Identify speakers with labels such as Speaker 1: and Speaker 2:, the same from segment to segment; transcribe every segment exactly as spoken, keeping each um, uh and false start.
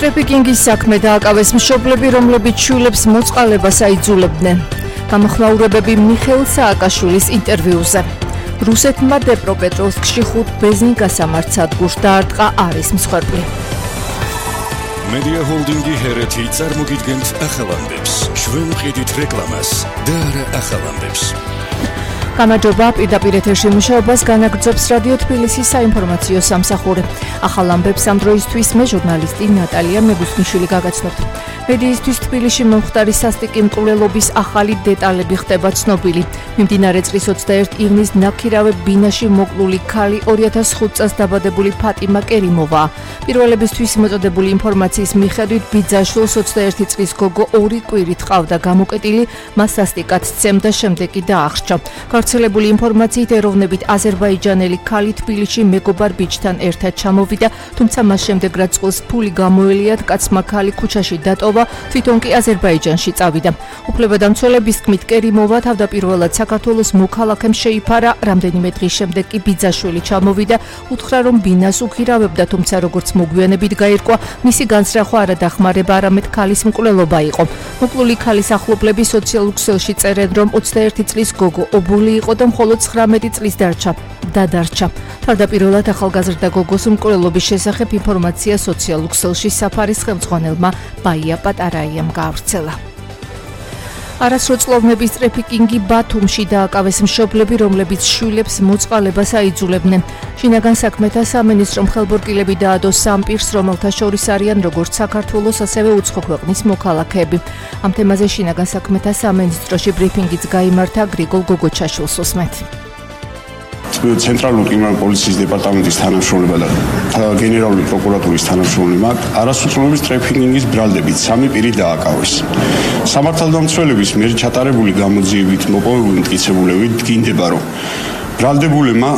Speaker 1: ტრეფიკინგის საქმე დააკავეს მშობლები, რომლებიც შვილებს მოწყალებას აიძულებდნენ. გამოხმაურებები მიხეილ სააკაშვილის ინტერვიუზე. რუსეთმა დნეპროპეტროვსკში ხუთ ბენზინ გასამართ სადგურს დაარტყა არის მსხვერპლი.
Speaker 2: მედია ჰოლდინგი ჰერეთი წარმოგიდგენთ ახალამდებს. ჩვენ ვყიდით რეკლამას და არა ახალამდებს.
Speaker 1: გამარჯობა, პირდაპირ ეთერში მუშაობას განაგრძობს რადიო თბილისის საინფორმაციო სამსახური. ახალ ამბებს ამ დროისთვის მე ჟურნალისტი ნატალია მეგუსნიშვილი გაგაცნობთ. მედიისთვის თბილისში მომხდარი სასტიკი მკვლელობის ახალი დეტალები ხდება ცნობილი. მიმდინარე წლის ოცდაერთი ივნის ნაქირავე ბინაში მოკლული ქალი ორი ათას ხუთ წელს დაბადებული ფატიმა კერიმოვაა. პირველებისთვის მოწოდებული ინფორმაციის მიხედვით ბიძაშვილს ოცდაერთი წლის გოგო ორი კვირით ყავდა გამოკეტილი, მას სასტიკად სცემდა, შემდეგ კი დაახრჩა. გავრცელებული ინფორმაციით ეროვნებით აზერბაიჯანელი ქალი თბილისში მეგობარ ბიჭთან ერთად ჩამოვიდა, თუმცა მას შემდეგ რაც წყვილს ფული გამოელიათ, კაცმა ქალი ქუჩაში დატოვა, თვითონ კი აზერბაიჯანში წავიდა. უფლებადამცველების თქმით, კერიმოვა თავდაპირველად საქართველოს მოქალაქემ შეიფარა, რამდენიმე დღის შემდეგ კი ბიძაშვილი ჩამოვიდა, უთხრა რომ ბინას უქირავებდა, თუმცა როგორც მოგვიანებით გაირკვა, მისი განსრახვა არა დახმარება, არამედ ქალის მკვლელობა იყო. მოკლული ქალის ახლობლები სოციალურ ქსელში წერენ, რომ ოცდაერთი წლის გოგო ობოლი იყო და მხოლოდ ცხრამეტი წლის დარჩა. დადარჩა. თავდაპირველად ახალგაზრდა გოგოს მკვლელობის შესახებ ინფორმაცია სოციალურ ქსელში საფარის ხელმძღვანელმა ბაია პატარაიამ გაავრცელა. არასროწლოვნების ტრეფიკინგი ბათუმში დააკავეს მშობლები, რომლებიც შვილებს მოწყალებას აიძულებდნენ. შინაგან საქმეთა სამინისტრომ ხელბორტილები დაადო სამ პირს, რომელთა შორის არიან როგორც საქართველოს, ასევე უცხო ქვეყნის მოქალაქეები. ამ თემაზე შინაგან საქმეთა სამინისტროში ბრიფინგიც გაიმართა. გრიგოლ გოგოჩაშვილს უსმენთ.
Speaker 3: ცენტრალური კრიმინალური პოლიციის დეპარტამენტის თანამშრომლებმა და გენერალური პროკურატურის თანამშრომლებმა არასროწლოვნების ტრეფიკინგის ბრალდებით სამი პირი დააკავეს. სამართალდამცველების მიერ ჩატარებული გამოძიებით მოპოვებული მტკიცებულები დგინდება, რომ ბრალდებულებმა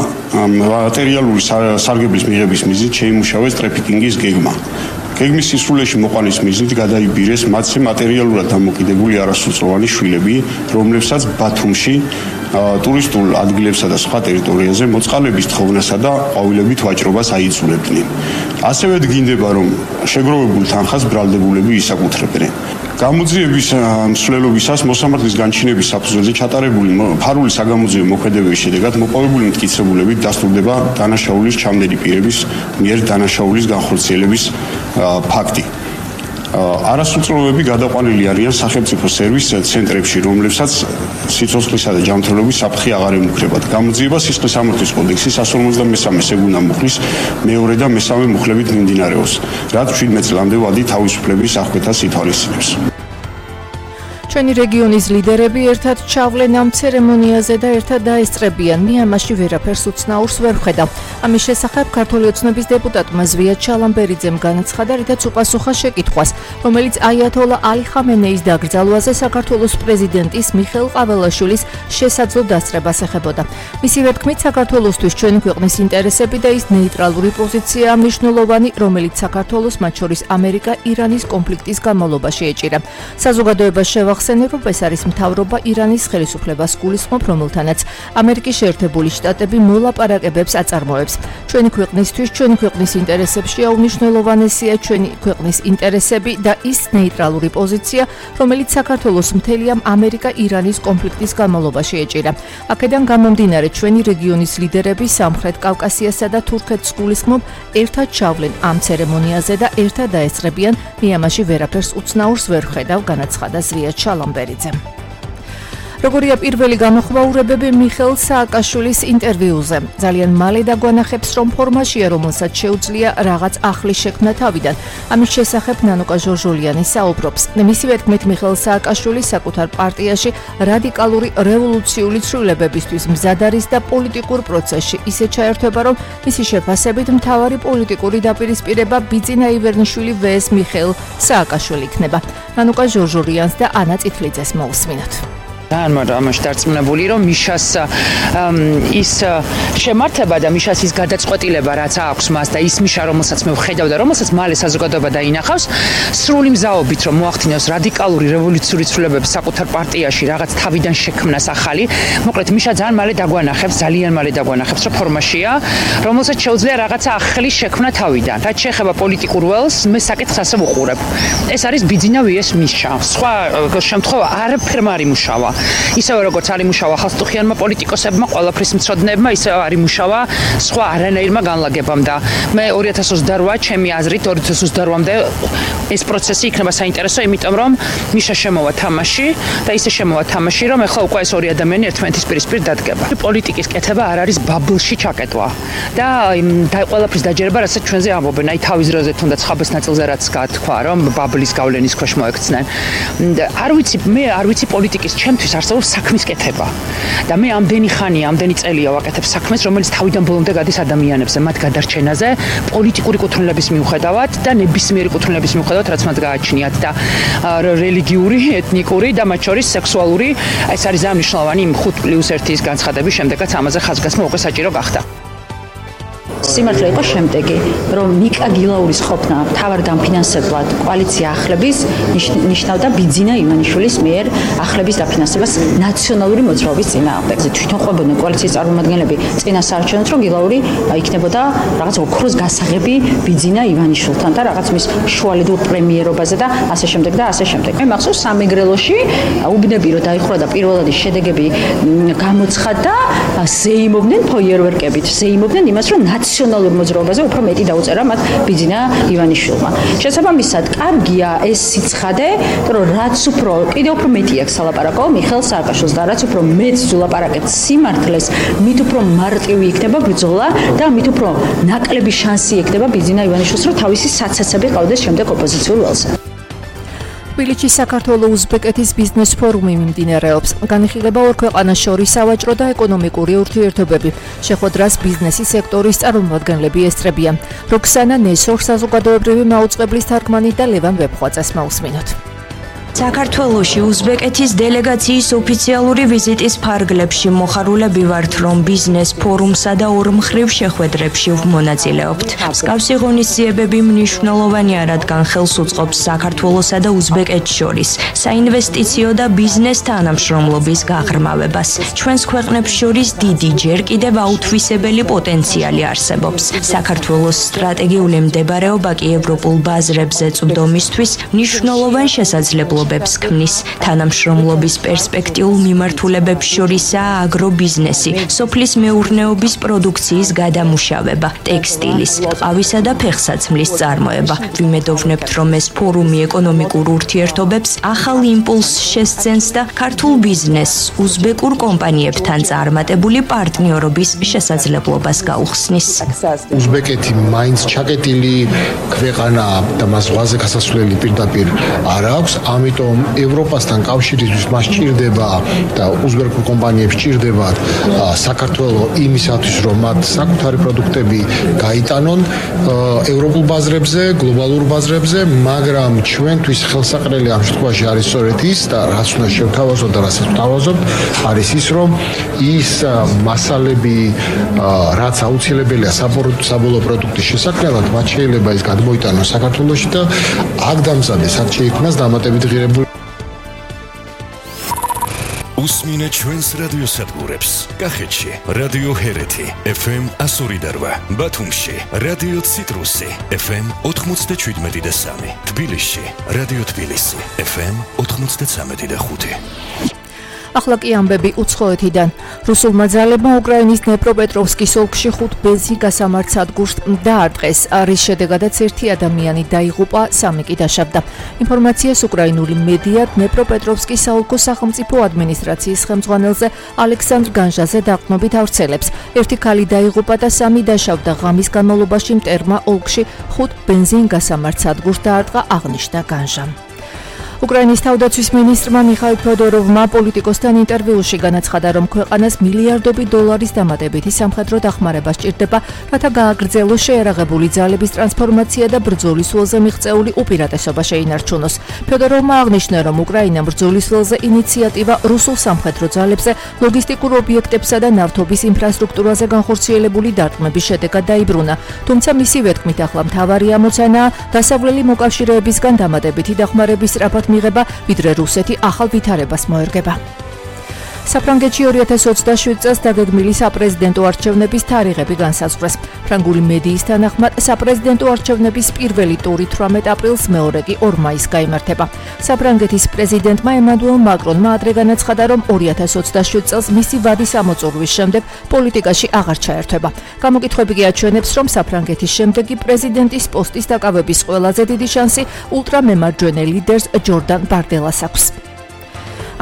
Speaker 3: მატერიალური სარგებლის მიღების მიზნით შეიმუშავეს ტრეფიკინგის გეგმა. გეგმის სისრულეში მოყვანის მიზნით გადაიბირეს მათზე მატერიალურად დამოკიდებული არასროწლოვანი შვილები, რომლებსაც ბათუმში ტურისტულ ადგილებსა და სხვა ტერიტორიაზე მოწყალების თხოვნასა და ყვავილებით ვაჭრობას აიძულებდნენ. ასევე დგინდება, რომ შეგროვებულ თანხას ბრალდებულები ისაკუთრებდნენ. გამოძიების მსვლელობისას მოსამართლის განჩინების საფუძველზე ჩატარებული ფარული საგამოძიებო მოქმედებების შედეგად მოპოვებული მტკიცებულებით დასტურდება დანაშაულის ჩამდენი პირების მიერ დანაშაულის განხორციელების ფაქტი. არასროწლოვანები გადაყვანილი არიან სახელმწიფო სერვის ცენტრებში, რომლებსაც სიცოცხლისა და ჯანმრთელობის საფრთხე აღარ ემუქრებათ. გამოძიება სისხლის სამართლის კოდექსის εκατს ორმოცდამესამე სეგუნა მუხლის მეორე და მესამე მუხლებით მიმდინარეობს, რაც შვიდმეტ წლამდე ვადი თავისუფლების აღკვეთას ითვალისწინებს.
Speaker 1: ჩვენი რეგიონის ლიდერები ერთად ჩავლენ ამ ცერემონიაზე და ერთად დაესწრებიან. მიანმარში ვერაფერს უცნაურს ვერ ვხედავ. ამის შესახებ ქართული ოცნების დეპუტატმა ზვია ჩალამბერიძემ განაცხადა, რითაც უპასუხა შეკითხვას, რომელიც აიათოლა ალი ხამენეის დაკრძალვაზე საქართველოს პრეზიდენტის მიხეილ ყაველაშვილის შესაძლო დასწრებას ეხებოდა. მისივე თქმით, საქართველოსთვის ჩვენი ქვეყნის ინტერესები და ის ნეიტრალური პოზიციაა მნიშვნელოვანი, რომელიც საქართველოს, მათ შორის ამერიკა-ირანის კონფლიქტის განმავლობაში ეჭირა. საზოგადოებას შევახსენებ, რომ ეს არის მთავრობა ირანის ხელისუფლებას გულისხმობ, რომელთანაც ამერიკის შეერთებული შტატები მოლაპარაკებებს აწარმოებს. ჩვენი ქვეყნისთვის, ჩვენი ქვეყნის ინტერესებშია უმნიშვნელოვანესია ჩვენი ქვეყნის ინტერესები და ის ნეიტრალური პოზიცია, რომელიც საქართველოს მთელი ამ ამერიკა-ირანის კონფლიქტის განმავლობაში ეჭირა. აქედან გამომდინარე, ჩვენი რეგიონის ლიდერები სამხრეთ კავკასიასა და თურქეთს გულისხმობ, ერთად ჩავლენ ამ ცერემონიაზე და ერთად დაესწრებიან. მიანმარში ვერაფერს უცნაურს ვერ ვხედავ, განაცხადა ზვია ჩალამბერიძემ. როგორია პირველი გამოხმაურებები მიხეილ სააკაშვილის ინტერვიუზე. ძალიან მალე დაგვანახებს, რომ ფორმაშია, რომელსაც შეუძლია რაღაც ახლის შექმნა თავიდან. ამის შესახებ ნანუკა ჟორჟოლიანი საუბრობს. მისივე თქმით, მიხეილ სააკაშვილი საკუთარ პარტიაში რადიკალური რევოლუციური ცვლილებებისთვის მზად არის და პოლიტიკურ პროცესში ისე ჩაერთვება, რომ მისი შეფასებით მთავარი პოლიტიკური დაპირისპირება ბიძინა ივერნიშვილი vs მიხეილ სააკაშვილი იქნება. ნანუკა ჟორჟოლიანს და ანა წითლიძეს მოусმინოთ.
Speaker 4: ამაში დარწმუნებული რომ მიშას ის შემართება და მიშას ის გადაწყვეტილება რაც აქვს მას და ის მიშა რომელსაც მე ვხედავ და რომელსაც მალე საზოგადოება დაინახავს სრული მზაობით რომ მოახდინოს რადიკალური რევოლუციური ცვლილებები საკუთარ პარტიაში რაღაც თავიდან შექმნას ახალი მოკლედ მიშა ძალიან მალე დაგვანახებს ძალიან მალე დაგვანახებს რომ ფორმაშია რომელსაც შეუძლია რაღაცა ახალი შექმნა თავიდან რაც შეეხება პოლიტიკურ ველს მე საკითხს ასე ვუყურებ ეს არის ბიძინა ვიეს მიშა სხვა შემთხვევა არაფერმა არ იმუშავა ისევე როგორც არ იმუშავა ხალხტუხიანმა პოლიტიკოსებმა ყველაფრის მცოდნეებმა ისევე არ იმუშავა სხვა არანაირმა განლაგებამ და მე ორი ათას ოცდაორი ჩემი აზრით ორი ათას ოცდაორი-მდე ეს პროცესი იქნება საინტერესო იმიტომ რომ მიშა შემოვა თამაში და ისე შემოვა თამაში რომ ახლა უკვე ეს ორი ადამიანი ერთმანეთის პირისპირ დადგება პოლიტიკის კეთება არ არის ბაბლში ჩაკეტვა და და ყველაფრის დაჯერება რასაც ჩვენზე ამბობენ აი თავის დროზე თუნდაც ხაბეს ნაწილზე რაც გათქვა რომ ბაბლის გავლენის ქვეშ მოექცნენ არ ვიცი მე არ ვიცი პოლიტიკის ჩემთვის არსებობს საქმის კეთება და მე ამდენი ხანია ამდენი წელია ვაკეთებ საქმეს რომელიც თავიდან ბოლომდე გადის ადამიანებზე მათ გადარჩენაზე პოლიტიკური კუთვნილების მიუხედავად და ნებისმიერი კუთვნილების მიუხედავად რაც მათ გააჩნიათ და რელიგიური ეთნიკური და მათ შორის სექსუალური ეს არის ძალიან მნიშვნელოვანი იმ ხუთ პლუს ერთის განცხადების შემდეგაც ამაზე ხაზგასმა უკვე საჭირო გახდა
Speaker 5: სიმართლე იყო შემდეგი, რომ მიკა გილაურის ყოფნა მთავარ დამფინანსებლად კოალიცია ახლების ნიშნავდა ბიძინა ივანიშვილის მიერ ახლების დაფინანსებას ნაციონალური მოძრაობის წინააღმდეგ. თვითონ ყვებოდნენ კოალიციის წარმომადგენლები წინა საარჩევნოდ, რომ გილაური იქნებოდა რაღაც ოქროს გასაღები ბიძინა ივანიშვილთან და რაღაც მის შუალედურ პრემიერობაზე და ასე შემდეგ და ასე შემდეგ. მე მახსოვს სამეგრელოში უბნები რომ დაიხურა და პირველადი შედეგები გამოცხადდა, ზეიმობდნენ ფოიერვერკებით, ზეიმობდნენ იმას, რომ ნაციონალურ მოძრაობაზე უფრო მეტი დაუწერა მათ ბიძინა ივანიშვილმა. შესაბამისად, კარგია ეს სიცხადე, რომ რაც უფრო კიდევ უფრო მეტი აქვს სალაპარაკო მიხეილ სააკაშვილს და რაც უფრო მეც ვლაპარაკეთ სიმართლეს, მით უფრო მარტივი იქნება ბრძოლა და მით უფრო ნაკლები შანსი ექნება ბიძინა ივანიშვილს, რომ თავისი საცაცები ყავდეს შემდეგ ოპოზიციურ ველზე.
Speaker 1: თბილისში საქართველო-უზბეკეთის ბიზნეს ფორუმი მიმდინარეობს. განიხილება ორ ქვეყანას შორის სავაჭრო და ეკონომიკური ურთიერთობები. შეხვედრას ბიზნესის სექტორის წარმომადგენლები ესწრებიან. როქსანა ნესორ საზოგადოებრივი მაუწყებლის თარგმანი და ლევან ვებხვაძეს მოусმინოთ.
Speaker 6: საქართველოში უზბეკეთის დელეგაციის ოფიციალური ვიზიტის ფარგლებში მოხარულები ვართ, რომ ბიზნეს ფორუმსა და ორმხრივ შეხვედრებში ვმონაწილეობთ. მსგავსი ღონისძიებები მნიშვნელოვანია, რადგან ხელს უწყობს საქართველოსა და უზბეკეთს შორის საინვესტიციო და ბიზნეს თანამშრომლობის გაღრმავებას. ჩვენს ქვეყნებს შორის დიდი, ჯერ კიდევ აუთვისებელი პოტენციალი არსებობს. საქართველოს სტრატეგიული მდებარეობა კი ევროპულ ბაზრებზე წვდომისთვის მნიშვნელოვან შესაძლებლობებს ქმნის. თანამშრომლობის პერსპექტიულ მიმართულებებს შორისაა აგრობიზნესი, სოფლის მეურნეობის პროდუქციის გადამუშავება, ტექსტილის, ყავისა და ფეხსაცმლის წარმოება. ვიმედოვნებთ, რომ ეს ფორუმი ეკონომიკურ ურთიერთობებს ახალ იმპულსს შესცენს და ქართულ ბიზნესს უზბეკურ კომპანიებთან წარმატებული პარტნიორობის შესაძლებლობას გაუხსნის.
Speaker 7: უზბეკეთი მაინც ჩაკეტილი ქვეყანაა და მას ზღვაზე გასასვლელი პირდაპირ არ აქვს. ამიტომ ევროპასთან კავშირისთვის მას ჭირდება და უზბეკურ კომპანიებს ჭირდებათ საქართველოს იმისათვის, რომ მათ საკუთარი პროდუქტები გაიტანონ ევროპულ ბაზრებზე, გლობალურ ბაზრებზე, მაგრამ ჩვენთვის ხელსაყრელი ამ შემთხვევაში არის სწორედ ის და რაც უნდა შევთავაზოთ და რასაც ვთავაზობთ, არის ის, რომ ის მასალები, რაც აუცილებელია საბოლოო პროდუქტის შესაქმნელად, მათ შეიძლება ის გადმოიტანოს საქართველოში და აქ დამზადეს, აქ შეიქმნას დამატებითი ღირებულება.
Speaker 2: უსმინე ჩვენს რადიოსადგურებს. კახეთში რადიო ჰერეთი ეფ ემ εκατო ორი და რვა, ბათუმში რადიო ციტრუსი ეფ ემ ოთხმოცდაშვიდმეტი და სამი, თბილისში რადიო თბილისი ეფ ემ ოთხმოცდაცამეტი და ხუთი.
Speaker 1: ახლა კი ამბები უცხოეთიდან. რუსულმა ძალებმა უკრაინის დნეპროპეტროვსკის ოლქში ხუთ ბენზინ გასამართ სადგურს დაარტყეს, რის შედეგადაც ერთი ადამიანი დაიღუპა, სამი კი დაშავდა. ინფორმაციას უკრაინული მედია დნეპროპეტროვსკის საოლქო სახელმწიფო ადმინისტრაციის ხელმძღვანელზე ალექსანდრ განჟაზე დაყრდნობით ავრცელებს. ერთი ქალი დაიღუპა და სამი დაშავდა. ღამის განმავლობაში მტერმა ოლქში ხუთ ბენზინ გასამართ სადგურს დაარტყა, აღნიშნა განჟამ. უკრაინის თავდაცვის მინისტრმა მიხაილ ფედოროვმა პოლიტიკოსთან ინტერვიუში განაცხადა, რომ ქვეყანას მილიარდობით დოლარის დამატებითი სამხედრო დახმარება სჭირდება, რათა გააგრძელოს შეერაღებული ძალების ტრანსფორმაცია და ბრძოლის ველზე მიღწეული უპირატესობა შეინარჩუნოს. ფედოროვმა აღნიშნა, რომ უკრაინამ ბრძოლის ველზე ინიციატივა რუსულ სამხედრო ძალებზე ლოგისტიკურ ობიექტებსა და ნავთობის ინფრასტრუქტურაზე განხორციელებული დარტყმების შედეგად დაიბრუნა. თუმცა მისივე თქმით, ახლა მთავარი ამოცანაა დასავლელი მოკავშირეებისგან დამატებითი დახმარების სწრაფად მიღება, ვიდრე რუსეთი ახალ ვითარებას მოერგება. საფრანგეთში ორი ათას ოცდაშვიდ წელს დაგეგმილი საპრეზიდენტო არჩევნების თარიღები განსაზღვრეს. ფრანგული მედიის თანახმად, საპრეზიდენტო არჩევნების პირველი ტური თვრამეტ აპრილს, მეორე კი ორ მაისს გაიმართება. საფრანგეთის პრეზიდენტმა ემანუელ მაკრონმა ადრე განაცხადა, რომ ორი ათას ოცდაშვიდ წელს მისი ვადის ამოწურვის შემდეგ პოლიტიკაში აღარ ჩაერთვება. გამოკითხვები კი აჩვენებს, რომ საფრანგეთის შემდეგი პრეზიდენტის პოსტის დაკავების ყველაზე დიდი შანსი ულტრამემარჯვენე ლიდერს ჯორდან ბარდელას აქვს.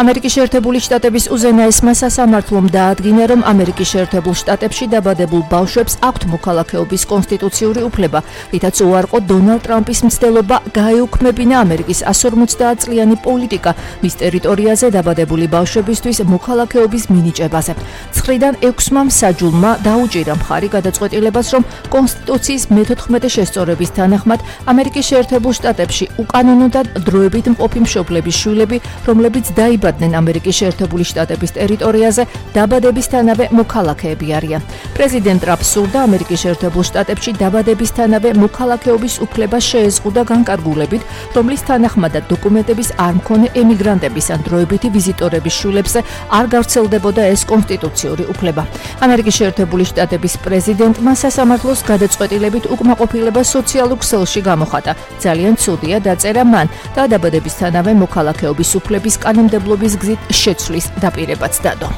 Speaker 1: ამერიკის შეერთებული შტატების უზენაესმა სასამართლომ დაადგინა, რომ ამერიკის შეერთებულ შტატებში დაბადებულ ბავშვებს აქვთ მოქალაქეობის კონსტიტუციური უფლება, რითაც უარყო დონალდ ტრამპის მცდელობა გაეუქმებინა ამერიკის ას ორმოცდაათ წლიანი პოლიტიკა მის ტერიტორიაზე დაბადებული ბავშვებისთვის მოქალაქეობის მინიჭებაზე. ცხრიდან ექვსმა მსაჯულმა დაუჭირა მხარი გადაწყვეტილებას, რომ კონსტიტუციის მეთოთხმეტე შესწორების თანახმად ამერიკის შეერთებულ შტატებში უკანონოდან დროებით მყოფი მშობლების შვილები, რომლებიც დაიბადნენ ამერიკის შეერთებული შტატების ტერიტორიაზე, დაბადებისთანავე მოქალაქეები არიან. პრეზიდენტ ტრამპს სურდა ამერიკის შეერთებულ შტატებში დაბადებისთანავე მოქალაქეობის უფლება შეეზღუდა განკარგულებით, რომლის თანახმადაც დოკუმენტების არ მქონე ემიგრანტების ან დროებითი ვიზიტორების შვილებზე არ გავრცელდებოდა ეს კონსტიტუციური უფლება. ამერიკის შეერთებული შტატების პრეზიდენტმა სასამართლოს გადაწყვეტილებით უკმაყოფილება სოციალურ ქსელში გამოხატა. ძალიან ცუდია, დაწერა მან და დაბადებისთანავე მოქალაქეობის უფლების კანონმდებლობის გზით შეცვლის დაპირებაც დადო.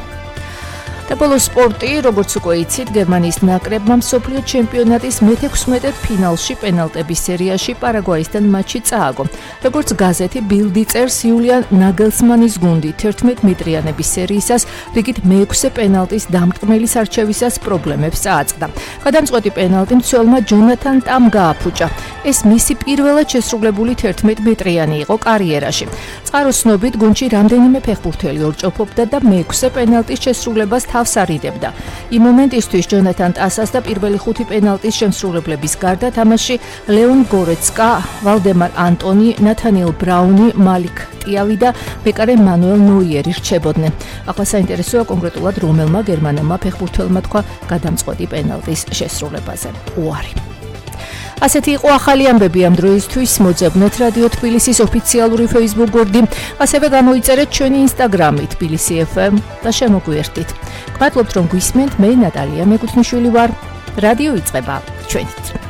Speaker 1: და ბოლოს სპორტი, როგორც უკვე იცით, გერმანიის ნაკრებმა მსოფლიო ჩემპიონატის მეთექვსმეტე ფინალში პენალტების სერიაში პარაგვაისთან მატჩი წააგო. როგორც გაზეთი ბილდი წერს, იულიან ნაგელსმანის გუნდი თერთმეტ მეტრიანების სერიისას რიგით მეექვსე პენალტის დამტყმელის არჩევისას პრობლემებს წააწყდა. გადამწყვეტი პენალტი მცველმა ჯონათან ტამ გააფუჭა. ეს მისი პირველად შესრულებული თერთმეტ მეტრიანი იყო კარიერაში. წყაროს ცნობით, გუნდში რამდენიმე ფეხბურთელი ორჭოფობდა და მეექვსე პენალტის შესრულებას თავს არიდებდა. იმ მომენტისთვის ჯონათან ტასას და პირველი ხუთი პენალტის შემსრულებლების გარდა თამაში ლეონ გორეცკა, ვალდემარ ანტონი, ნათანიელ ბრაუნი, მალიკ ტიავი და მეკარე მანუელ ნოიერი რჩებოდნენ. ახლა საინტერესოა კონკრეტულად რომელმა გერმანელმა ფეხბურთელმა თქვა გადამწყვეტი პენალტის შესრულებაზე. უარი. ასეთი იყო ახალი ამბები ამ დროისთვის. მოძებნეთ რადიო თბილისის ოფიციალური Facebook გვერდი, ასევე გამოიწერეთ ჩვენი Instagram-ი თბილისი ეფ ემ და შემოგვიერთდით. გმადლობთ რომ გვისმენთ, მე ნატალია მეკუთვნიშვილი ვარ. რადიო იწყება ჩვენით.